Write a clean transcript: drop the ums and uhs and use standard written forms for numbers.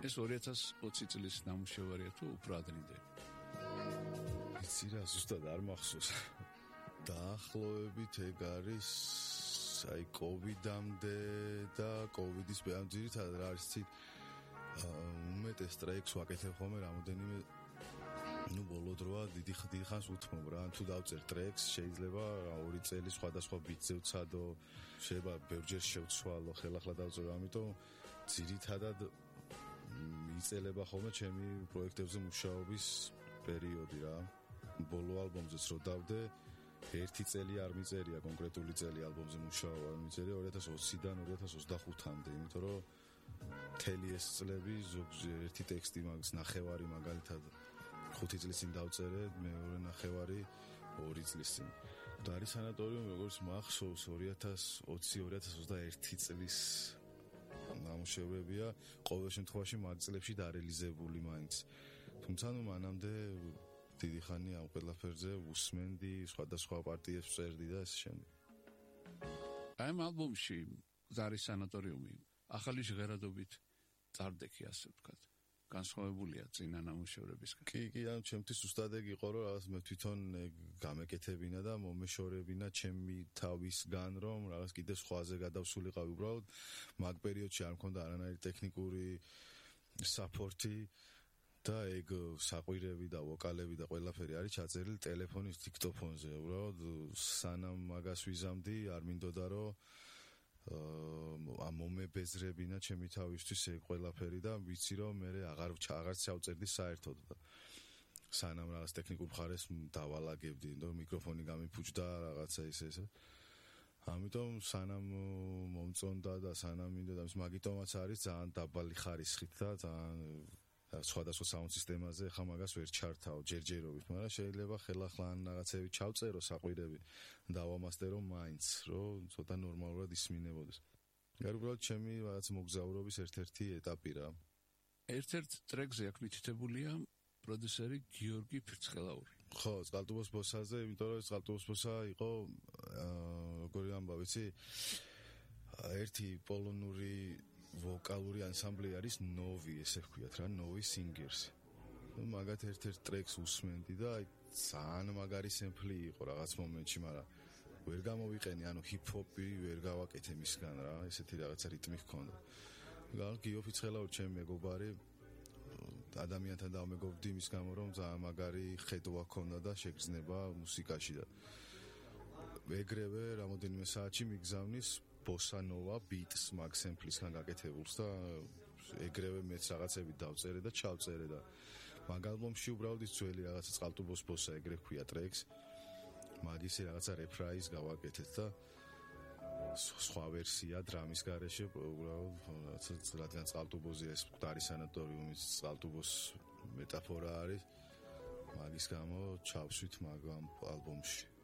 ეს 2020 წლის ნამუშევარია თუ უფრო ადრინდელი? იცი რა, ზუსტად არ მახსოვს. დაახლოებით ეგ არის აი კოვიდამდე და კოვიდის ძირითადად რა არის ცით უმეტეს ტრეკს ვაკეთებ ხოლმე რამოდენიმე ბოლო დროა დიდი ხანს უთმობ რა, თუ დავწერ ტრეკს შეიძლება 2 წელი სხვადასხვა ბიტზე ვცადო, შეიძლება ბევრჯერ შევცვალო, ხელახლა დავწერო, ამიტომ ძირითადად იწელება ხოლმე ჩემი პროექტებზე მუშაობის პერიოდი რა. ბოლო ალბომზეც რო დავდე 1 წელი არ მიწერია კონკრეტული წელი ალბომზე მუშაობა, მიწერია 2020-დან 2025-მდე, იმიტომ რომ მთელი ეს წლები ზოგჯერ ერთი ტექსტი მაგის ნახევარი მაგალითად 5 წლის წინ დავწერე, მეორე ნახევარი 2 წლის წინ. და არის სანატორიუმი, როგორც მახსოვს 2020-2021 წლის ნამუშევრებია, ყოველ შემთხვევაში მაგ წლებში დარეალიზებული მაინც. თუმცა მანამდე დიდი ხანი ამ ყველაფერზე უსმენდი, სხვადასხვა პარტიებს წერდი და ეს შემდეგ. აი ამ ალბომში არის სანატორიუმი, ახალი ჟღერადობით წარდექი, ასე ვთქვათ. განსხვავებულია წინა ნამუშევრებისგან. კი, ან ჩემთვის უბრალოდ ეგ იყო, რომ რაღაც მე თვითონ გამეკეთებინა და მომეშორებინა ჩემი თავისგან, რომ რაღაც კიდე სხვაზე გადავსულიყავი უბრალოდ მაგ პერიოდში არ მქონდა არანაირი ტექნიკური საპორტი და ეგ საყვირები და ვოკალები და ყველაფერი არის ჩაწერილი ტელეფონის დიქტოფონზე. უბრალოდ სანამ მაგას ვიზამდი, არ მინდოდა რომ მომებეზრებინა ჩემი თავისთვის ეგ ყველაფერი და ვიცი რომ მე აღარც ჩავწერდი საერთოდ და სანამ რაღაც ტექნიკურ მხარეს დავალაგებდი, რომ მიკროფონი გამიფუჭდა რაღაცა ისე. ამიტომ სანამ მომწონდა და სანამ მინდოდა ის მაგიტომაც არის ძალიან დაბალი ხარისხით და ძალიან სხვადასხვა საუნდ სისტემაზე ხა მაგას ვერ ჩართავ ჯერჯერობით, მაგრამ შეიძლება ხელახლა ან რაღაცები ჩავწერო საყვირები დავამასტერო მაინც, რომ ცოტა ნორმალურად ისმინებოდეს. გარკვეულად ჩემი რაღაც მოგზაურობის ერთ-ერთი ეტაპი რა. ერთ-ერთ ტრეკზე აქ მითითებულია პროდიუსერი გიორგი ფირცხელაური. ხო, წყალტუბოს ბოსაზე, იმიტომ რომ წყალტუბოს ბოსა იყო როგორი ამბავი, ვიცი? ერთი პოლონური ვოკალური ანსამბლი არის ნოვი, ესე ვქვიათ რა, ნოვი სინგერს. მაგათ ერთ-ერთ ტრეკს უსმენდი და აი ძალიან მაგარი სემპლი იყო რაღაც მომენტში, მაგრამ ვერ გამოვიყენი, ანუ ჰიპ-ჰოპი ვერ გავაკეთე მისგან რა, ესეთი რაღაცა რიტმი ჰქონდა. გიო ფირცხელაური ჩემი მეგობარი, ადამიანთან დავმეგობრდი მის გამო, რომ ძალიან მაგარი ხედვა ჰქონდა და შეგრძნება მუსიკაში და ეგრევე რამოდენიმე საათში მიგზავნის ბოსა ნოვა ბიტს მაგ სემპლისგან გაკეთებულს და ეგრევე მეც რაღაცები დავწერე და ჩავწერე და მაგ ალბომში უბრალოდ ის ძველი რაღაცა წყალტუბოს ბოსა ეგრე ქვია ტრეკს მაგისი რაღაცა რეფრაიზ გავაკეთეთ და სხვა ვერსია დრამის გარეშე უბრალოდ რადგან წყალტუბოზე ეს მკვდარი სანატორიუმის წყალტუბოს მეტაფორა არის მაგის გამო ჩავსვით მაგ ალბომში.